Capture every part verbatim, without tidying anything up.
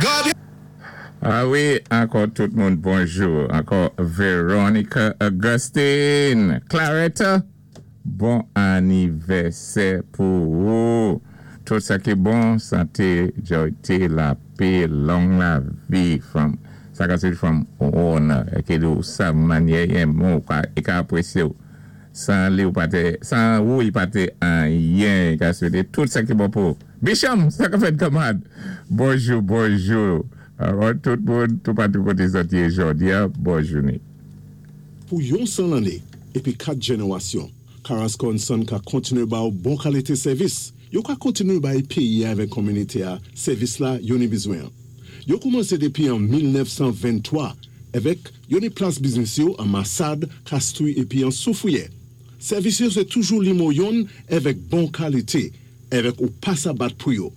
God. Ah wi, ankò tout moun bonjou. Ankò Veronica Augustine. Claretta, bon anivèsè pou ou. Tout sa ki bon, santé, joyté, lapè, long lavi, from, sa ka se from owner, é ki di ou sa manyè yenmen ou ka, i ka apwésyé ou. San li ou pa té, san ou i pa té anyen, i ka swété tout sa ki bon pou ou. Bicham, sa ka fèt kanmad. Bonjou, bonjou. Alò, tout moun, tout patou koté zòt yé jòdi a, bon jouné. Pou yon san lanné épi kat jénéwasyon, Carrasco and Son ka kontiné ba ou bon kalité sèvis. Yo ka kontiné bay péyi avèk kominité a sèvis la yo ni bizwen. Yo koumansé dépi an mil nèf san venntwa avèk yo ni plas biznis yo an Massade, Castries épi an Soufrière. Sèvis yo sé toujou nimewo youn avèk bon kalité avèk ou pa sa bat pou yo.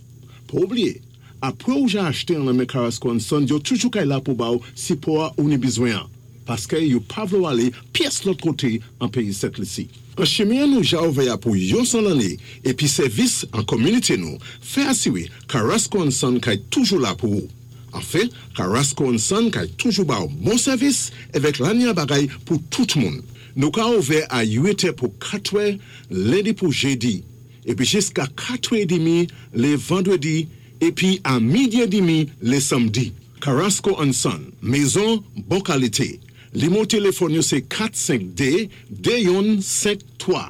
Pa oubliyé, apwé ou ja achté an nan men Carrasco and Son, yo toujou kay la pou ba ou sipò a ou ni bizwen an. Paské yo pa vlé ou alé pyès lòt koté an péyi Sent Lisi. An chimen nou ja ouvè pou yon san lanné épi sèvis an kominité nou, fè asiwé Carrasco and Son kay toujou la pou ou. Anfen, Carrasco and Son kay toujou ba ou bon sèvis avèk lanya bagay pou tout moun. Nou ka ouvè a uit è pou katwè, lendi pou jédi, épi jiska katwè édmi lé vandwédi, épi a midi édmi lé sanmdi. Carrasco and Son, mézon bon kalité. Nimewo téléfòn yo sé kat senk dé, dé youn senk twa.